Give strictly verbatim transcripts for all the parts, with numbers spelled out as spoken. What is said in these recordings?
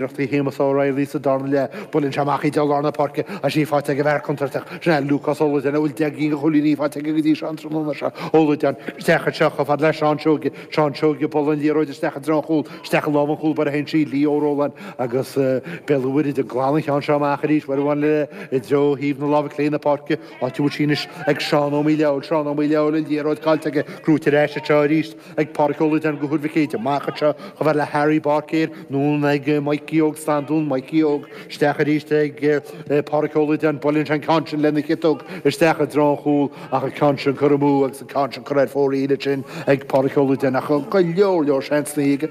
Iarrachtaí Shéamus O'Reilly sa darna leath. Buaileann sé amach í i lár na páirce agus í faighte ag an bhfear contúirteach. Sin é Lúcás Ó Loideáin a bhfuil deich gcinn de chúilíní faighte aige go dtí seo an tráthnóna seo. Ó Loideáin isteach anseo chomh fada le Seán Seoige. Seán Seoige buaileann an liathróid isteach i dtreo an chúil. Isteach i lámh an chúl báire a théann sí Leo Ó Róláin agus Béal an Mhuirthead ag glanadh an cheann seo amach arís uair amháin eile i dtreo thaobh na láimhe clé na páirce. Áit a bhfuil sí anois ag Seán Ó Maoileoil. Seán Ó Maoileoil an liathróid caillte aige. Gnóite ar ais anseo arís ag Pádraic Ó Loideáin do Thuar Mhic Éide. Amach anseo chomh fada le Harry Báicéir. Anonn ag Mikey Óg Standún, Mikey Óg isteach arís ag Pádraic Ó Loideáin, buaileann sé an ceann sin lena chiotóg isteach i dtreo an chúil ach an ceann sin curtha amú agus an ceann sin curtha ar fóraoil ansin ag Pádraic Ó Loideáin ach go leor leor seansanna aige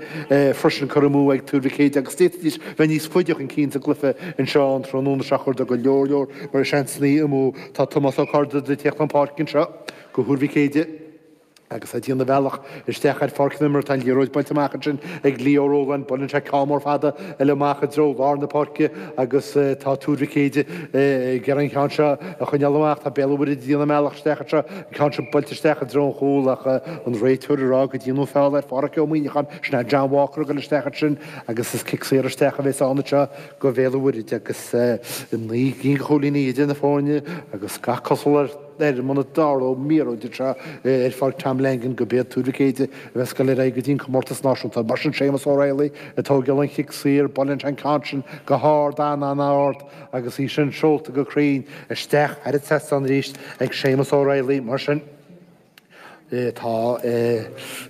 freisin curtha amú ag Tuar Mhic Éide agus d'fhéadfaidís bheith níos faide chun cinn sa gcluiche anseo an tráthnóna seo chuireadar go leor leor seansanna amú. Tá Tomás Ó Corda ag tíocht chun páirce anseo do Thuar Mhic Éide. Agus é ag déanamh a bhealach isteach ar pháirc na himeartha, tá an liathróid buailte amach ansin ag Leo Rowland. Buaileann sé ceann mór fada eile amach i dtreo lár na páirce agus tá Tuar Mhic Éide ag iarraidh an ceann seo a choinneáil amach. Tá Béal an Mhuirthead ag déanamh a mbealach isteach anseo, an ceann seo buailte isteach i dtreo an chúil ach an réiteoir ag rá go ndearnadh feall ar Pháraic Ó Muíneacháin. Sin é John Walker ag dul isteach ansin agus is cic saor isteach a bheas ann anseo do Bhéal an Mhuirthead agus naoi gcinn de chúilíní idir na foirne agus gach cosúlacht air muna dtarlóidh míorúilt anseo ar Pháirc Tom Langan gurb iad Tuar Mhic Éide a bheas ag dul ar aghaidh go dtí an comórtas náisiúnta. Mar sin Séamus O'Reilly ag tógáil an chic saor, buaileann sé an ceann sin go hard, an-an-ard agus í sin seolta go cruinn isteach thar an trasnán arís ag Séamus O'Reilly. Mar sin. Tá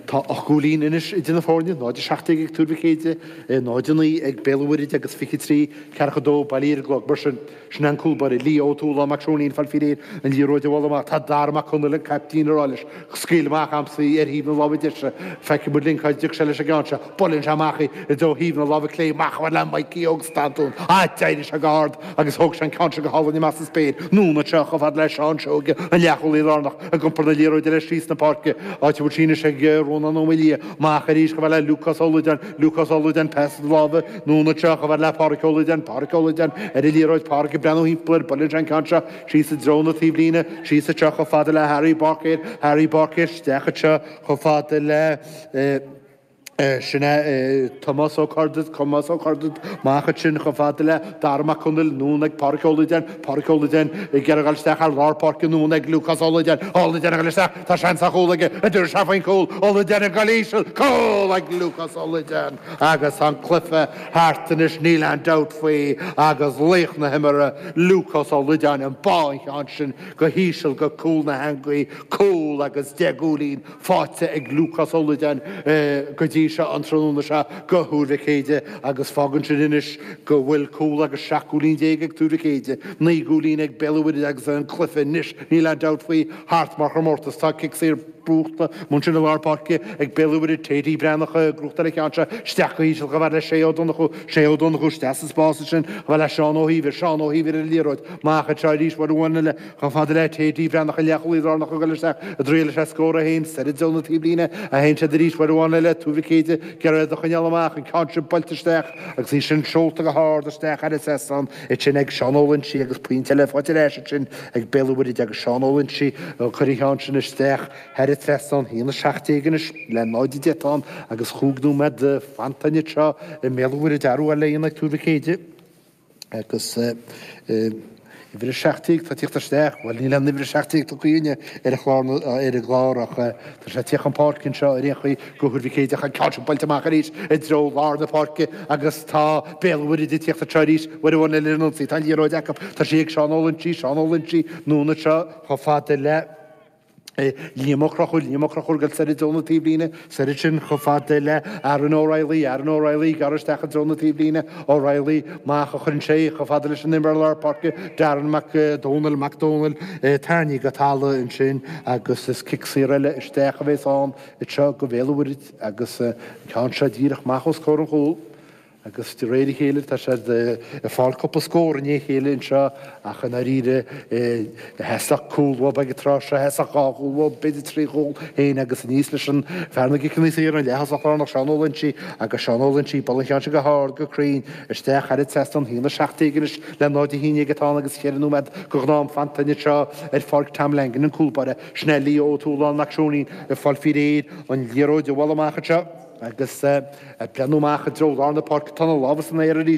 tá ocht gcúilín anois idir na foirne, náid a seacht déag ag Tuar Mhic Éide, náid a naoi ag Béal an Mhuirthead agus fiche trí, ceathracha dó bailithe ar an gclog. Mar sin, sin é an cúl báire, Leo Ó Tualáin Mac Seoinín, fáil faoi réir an liathróid a bhualadh amach. Tá Dara Mac Conaill, an caiptín, ag rá leis, scaoil amach a'msa í ar thaobh na láimhe deise. Feicfidh muid linn cá dtiocfaidh sé leis an gceann seo. Buaileann sé amach í i dtreo thaobh na láimhe clé, amach chomh fada le Mikey Óg Standún. Ah, d'éirigh sé go hard agus thóg sé an ceann seo go hálainn amach sa spéir. Anonn anseo chomh fada le Seán Seoige, an leathchúlaí lárnach. Ag iompar na liathróide leis síos na páirce, áit a bhfuil sí anois ag Rónán Ó Maoildhia. Amach arís chomh fada le Lúcás Ó Loideáin. Lúcás Ó Loideáin, pas láimhe anonn anseo chomh fada le Páraic Ó Loideáin. Páraic Ó Loideáin ar an liathróid. Páraic ag breathnú thimpeall air. Buaileann sé an ceann seo síos i dtreo na taobhlíne. Síos anseo chomh fada le Harry Báicéir. Harry Báicéir isteach anseo chomh fada le. Sin é Tomás Ó Corda, Tomás Ó Corda, amach ansin chomh fada le Dara Mac Conaill, anonn ag Páraic Ó Loideáin, Páraic Ó Loideáin ag iarraidh a dhul isteach ar lár páirce, anonn ag Lúcás Ó Loideáin, Ó Loideáin ag dul isteach, tá seans ar chúl aige, an dtabharfaidh sé faoin gcúl, Ó Loideáin ag dul íseal, cúl ag Lúcás Ó Loideáin agus tá an cluiche thart anois, níl aon dabht faoi agus laoch na himeartha, Lúcás Ó Loideáin, ag bá an cheann sin go híseal go cúl na heangaí, cúl agus deich gcúilín. faighte ag Lúcás Ó Loideáin go dtí seo an tráthnóna seo do Thuar Mhic Éide agus fágann sin anois go bhfuil cúl agus seacht gcúilín déag ag Tuar Mhic Éide, naoi gcúilín ag Béal an Mhuirthead agus an cluiche anois, níl aon dabht faoi, thart mar chomórtas. Tá cic saor buachta ansin i lár páirce ag Béal an Mhuirthead, Teddy Breathnach ag gnóthachtáil an cheann seo isteach go híseal chomh fada le Shay Ó Donnchú, Shay Ó Donnchú isteach sa spás ansin chomh fada le Seán Ó hÍomhair, Seán Ó hÍomhair ar an liathróid, amach anseo arís uair amháin eile. Chomh fada le Teddy Breathnach an leathchúlaí lárnach ag dul isteach ag triail leis an scór é féin soir i dtreo na taobhlíne a théann siad arís uair amháin eile Tuar Mhic Éide ag iarraidh iad a choinneáil amach an ceann sin buailte isteach agus í sin seolta go hard isteach thar an trasnán ansin ag Seán Ó Loinsigh agus pointe eile faighte ar ais ansin ag Béal an Mhuirthead agus Seán Ó Loinsigh ag cur an cheann sin isteach thar an trasnán. A haon a seacht déag anois le náid a deich atá ann agus chúig nóiméad fanta anseo i mBéal an Mhuirthead athrú eile a dhéanamh ag Tuar Mhic Éide. Agus uimhir a seacht déag, tá tíocht isteach, bhuel níl aon uimhir a seacht déag tugtha againne ar an chlár, ar an gclár ach tá sé ag tíocht chun páirce anseo ar aon chaoi do Thuar Mhic Éide ach an ceann sin buailte amach arís i dtreo lár na páirce agus tá Béal an Mhuirthead ag tíocht anseo arís uair amháin eile ar an ionsaí. Tá an liathróid acu, tá sí ag Seán Ó Loinsigh, Seán Ó Loinsigh, anonn anseo chomh fada le. Liam Ó Conchúir, Liam Ó Conchúir ag dul soir i dtreo na taobhlíne, soir ansin chomh fada le Aaron O'Reilly, Aaron O'Reilly, gearradh isteach i dtreo na taobhlíne, O'Reilly, amach a chuireann sé chomh fada leis an imreoir lár páirce, Darren Mac Dónaill, Mac Dónaill, tarraingthe go talamh ansin agus is cic saor eile isteach a bheas ann anseo do Bhéal an Mhuirthead agus an ceann seo díreach amach os comhair an chúil. Agus de réir a chéile tá siad ag fáil cúpla scór i ndiaidh a chéile anseo ach i ndáiríre theastódh cúl uathu ag an tráth seo, theastódh dhá chúl uathu, b'fhéidir trí chúl féin agus aníos leis an fear na gciceanna saora, an leath-thosach lárnach Seán Ó Loinsigh agus Seán Ó Loinsigh ag bualadh an cheann sin go hard, go cruinn, isteach thar an trasnán, a haon a seacht déag anois le náid a haon déag atá ann agus cheithre nóiméad de ghnáth-am fanta anseo ar Pháirc Tom Langan, an cúl báire, sin é Leo Ó Tualáin Mac Seoinín ag fáil faoi réir an liathróid a bhualadh amach anseo. Agus ag breathnú amach i dtreo lár na páirce, tá na lámha san aer arís.